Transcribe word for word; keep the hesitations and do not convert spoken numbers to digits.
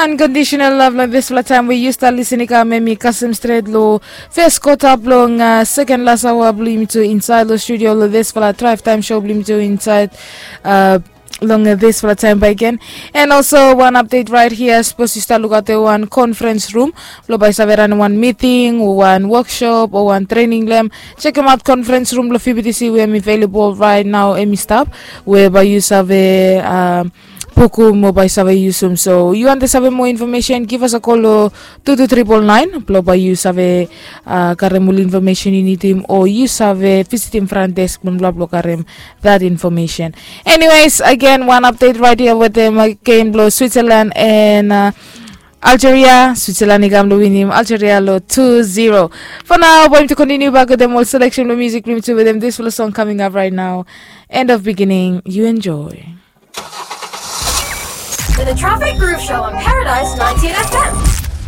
Unconditional love long dispela taim we yu stap lisin i kam em i kasem stret long fes kota bilong seken las awa bilong yumi tu insait long studio long dispela traif taim show bilong yumi tu insait long dispela taim bai gen. And also one update right here, sapos yu stap lukaut wan conference room bilong bai save ran wan meeting o wan workshop o wan training lem, chekim aut conference room bilong fibitisi we em i available right now em i stap, we bai yu save pukum o bai save yusum. So yu wante save moa information, give us a call long two two triple nine bilong bai yu save karem ol information yu nidim o yu save visitim front desk bilong bla bilong karem that information. Anyways, again, one update right here with them again bilong Switzerland and uh, Algeria. Switzerland i kam long winim Algeria long two zero. For now, bai mi to continue back with them all selection bilong music bilong mi tu with them this full song coming up right now. End of beginning, you enjoy. The Traffic Groove Show on Paradise nineteen F M.